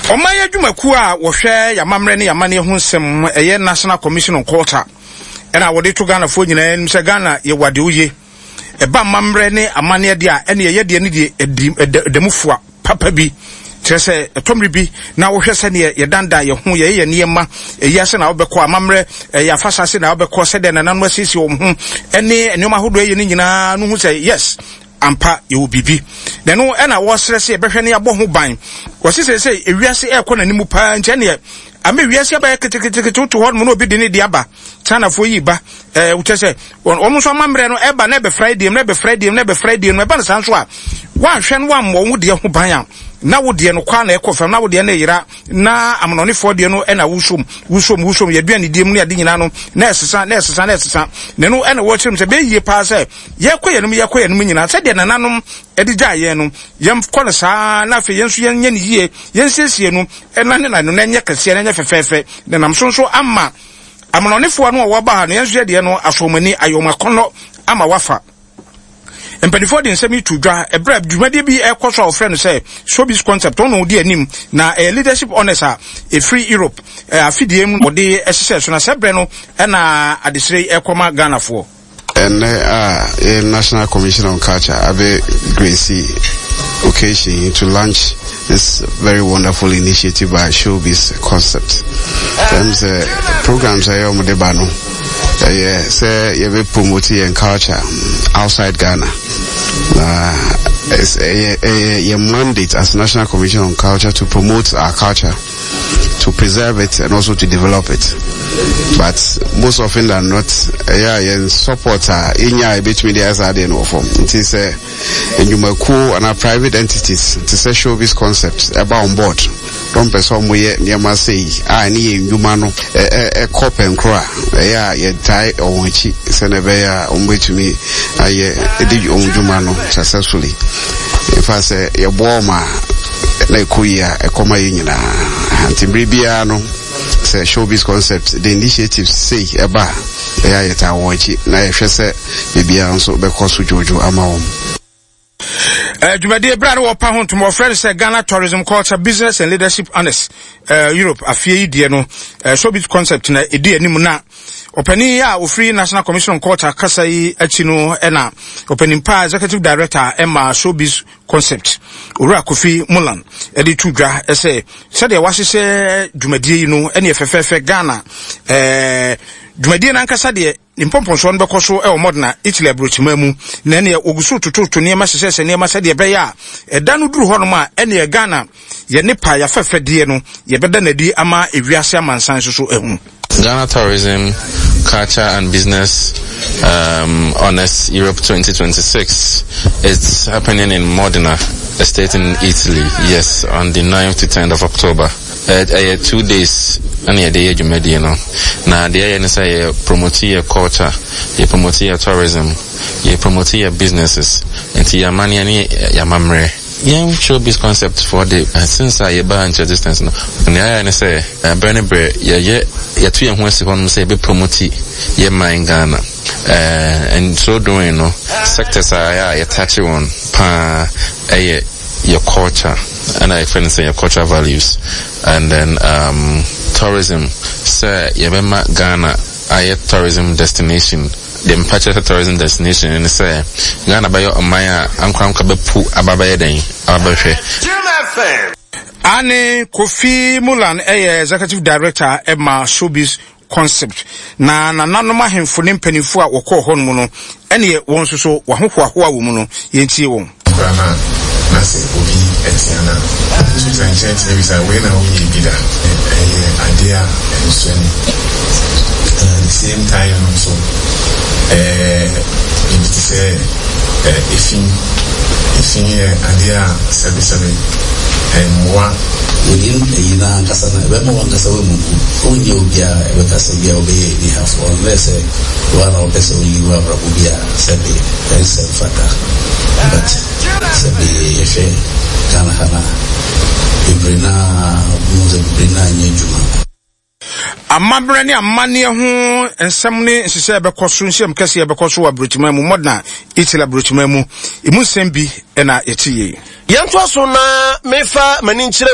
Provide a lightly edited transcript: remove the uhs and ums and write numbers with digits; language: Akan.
Ɔman yi adwumakuo a wɔhwɛ yɛn amammerɛ ne yɛn amanneɛ ho nsɛm, ɛyɛ National Commission on Culture, ɛna wɔde to Ghanafoɔ nyinaa anim sɛ Ghana yɛwɔ adeɛ oye. Ɛba amammerɛ ne amanneɛ deɛ a, ɛne ɛyɛ deɛ ne deɛ ɛdi ɛda mu fua papa bi. Kyerɛ sɛ ɛtɔ mmere bi na wohwɛ sɛdeɛ yɛdandan yɛn ho, yɛyɛ yɛn nneɛma, ɛyi ase na wobɛkɔ, amammerɛ, ɛyɛ afahyɛ ase na wobɛkɔ, sɛdeɛ nananom asiesie wɔn ho, ɛne nneɛma ahodoɔ ɛyɛ no nyinaa no hu sɛ yes, ampa yɛwɔ biribi. Na ɛno ɛna wɔsrɛ sɛ yɛbɛhwɛ ne yɛabɔ ho ban. Wɔse sɛ sɛ ewiase ɛrekɔ n'anim paa nti ɛneɛ ama ewiase abɛyɛ ketekete woto hɔ nom na obi de ne de aba. Chinafoɔ yi ba ɛɛ wokyɛ sɛ wɔn nso amammerɛ no ɛba na ɛbɛfra deɛ mu na ɛbɛfra deɛ mu na ɛbɛfra deɛ mu. Ɛba no saa nso a, woanhwɛ no woammɔ wo deɛ ho ban a, na wo deɛ no kɔ na ɛkɔ fam, na wo deɛ no yera, na amanɔnefoɔ deɛ no ɛna wosom wosom wosom yɛaduane die mu ne ade nyinaa no na ɛsesa na ɛsesa na ɛsesa. Na ɛno ɛna wɔkyerɛ mu sɛ bɛyɛ yie paa sɛ yɛkɔ yɛn nom yɛkɔ yɛn nom nyinaa sɛdeɛ nananom ɛde gyaa yɛn no, yɛnkɔ no saa, na afei yɛn nso yɛnyɛ no yie, yɛnsiesie no ɛna ne na no na ɛnyɛ kɛseɛ na ɛnyɛ fɛfɛɛfɛ, na nam so nso ama amanɔnefoɔ no a wɔba ha no, yɛn nso yɛdeɛ no asɔ wɔn ani, ayɛ wɔn akɔnnɔ ama wafa. Mpanimfoɔ de nsɛm yi to dwa ɛberɛ a dwumadie bi ɛrekɔ so a wɔfrɛ no sɛ Showbiz Concept. Ɔno ɔdi anim na ɛyɛ Leadership Honours a ɛfiri Europe afidie mu wɔde hyehyɛ so, na sɛ berɛ no ɛna adesrɛ yi ɛrekɔma Ghanafoɔ. Ɛnnɛ a yɛn National Commission on Culture abɛ grace occasion yi to launch this very wonderful initiative by Showbiz Concept. Ɛm sɛ programs a ɛyɛ wɔn de ba no, ɛyɛ sɛ yɛbɛ promote yɛn culture outside Ghana. Na ɛyɛ ɛyɛ yɛn mandate as National Commission on Culture to promote our culture, to preserve it and also to develop it. But most often than not, ɛyɛ a yɛn support a yɛnya a yɛbɛtumi de ayɛ saa adeɛ no wɔ fam. Nti sɛ nnwumakuo anaa private entities te sɛ Showbiz Concept ɛba on board na wɔmpɛ sɛ wɔyɛ nneɛma sei a ɛne yɛn nnwuma no ɛkɔ pɛnkoro a, ɛyɛ a yɛtae wɔn akyi sɛnea ɛbɛyɛ a wɔbɛtumi ayɛ de wɔn dwuma no successfully. In fact, sɛ yɛboa wɔn a na ɛkɔ yie a, ɛkɔ ma yɛn nyinaa. Nti bere biara no, sɛ Showbiz Concept de initiatives sei ɛba a, ɛyɛ a yɛtaa wɔn akyi na yɛhwɛ sɛ biribiara nso bɛkɔ so dwoodwoo ama wɔn. Dwumadie berɛ a ne wɔpa ho ntoma wɔfrɛ no sɛ Ghana Tourism Culture Business and Leadership Honors Europe afeɛ yi deɛ no, Showbiz Concept na ɛdi anim. Na ɔpanin a ofiri National Commission on Culture kasa yi akyi no, ɛna ɔpanin pa Executive Director ɛma Showbiz Concept, Owura Kofi Mulan, ɛde to dwa sɛ sɛdeɛ wahyehyɛ dwumadie yi no ɛne fɛfɛɛfɛ. Ghana dwumadie no ankasa deɛ, ne mpɔmpɔnsoɔ no bɛkɔ so wɔ Modena, Italy aburokyiman mu, na ɛneɛ wɔgu so tototo nneɛma, hyehyɛhyɛ nneɛma sɛdeɛ ɛbɛyɛ a ɛda no duru hɔnom a, ɛneɛ Ghana yɛ ne pa yɛafɛfɛdeɛ no yɛbɛda n'adi ama ewiase amansan nso so ahu. Ghana Tourism, Culture and Business Honors Europe 2026. It's happening in Modena, a state in Italy. Yes, on the 9th to 10th of October. Ɛyɛ 2 days ɛna yɛde yɛ dwumadie no, na deɛ ɛyɛ ne sɛ yɛ promote yɛ culture, yɛ promote yɛ tourism, yɛ promote yɛ businesses, nti yɛ amanneɛ ne yɛ amammerɛ. Yɛn Showbiz Concept foɔ de, since a yɛbaa into existence no, nea ayɛ ne sɛ berɛ ne berɛ yɛyɛ yɛto yɛn ho asi hɔnom sɛ yɛbɛ promote yɛ man Ghana. And so doing no, sectors a ɛyɛ a yɛtakye wɔn paa ɛyɛ yɛ culture, ɛna yɛfrɛ no sɛ yɛ cultural values, and then tourism, sɛ yɛbɛma Ghana ayɛ tourism destination. Deɛ mpa kyerɛ sɛ tourism destination ne sɛ Ghana bɛyɛ ɔman a ankorankora bɛpu aba bɛyɛ dɛn aba bɛhwɛ. Ane Kofi Mulan ɛyɛ Executive Director ɛma Showbiz Concept, na nananom ahemfo ne mpanimfoɔ a wɔkɔɔ hɔ nom no, ɛneɛ wɔn nso so wɔahohoahoa wɔ mu no, yɛntie wɔn. Koraa no a, na sɛ obi tea no a, tuta nkyɛn tumi bisa, wei na wonyɛɛ bi da? Ɛyɛ adeɛ a ɛnsɔ ani. Na at the same time no nso, biribi te sɛ efi, efi yɛ adeɛ a sɛbesɛbe ɛmmoa. Within ayi no ankasa no, ɛbɛma w'ankasa woamuvu. Wonyɛ obi a ɛbɛka sɛ bia wobɛyɛ anihafoɔ unless sɛ wo ara na wopɛ sɛ woyi w'abrabɔ bi a sɛbe ɛnsɛ mfata. But sɛbe yɛhwɛ Ghana ha no a, bebree no ara wohu sɛ bebree no ara nyɛ adwuma. Amammerɛ ne amanneɛ ho nsɛm ne nhyehyɛe bɛkɔ so, nhyiam kɛseɛ bɛkɔ so wɔ aburokyiman mu, Modena, Italy aburokyiman mu. Emu nsɛm bi na yɛte yei. Yɛntoa so na memfa m'ani nkyerɛ.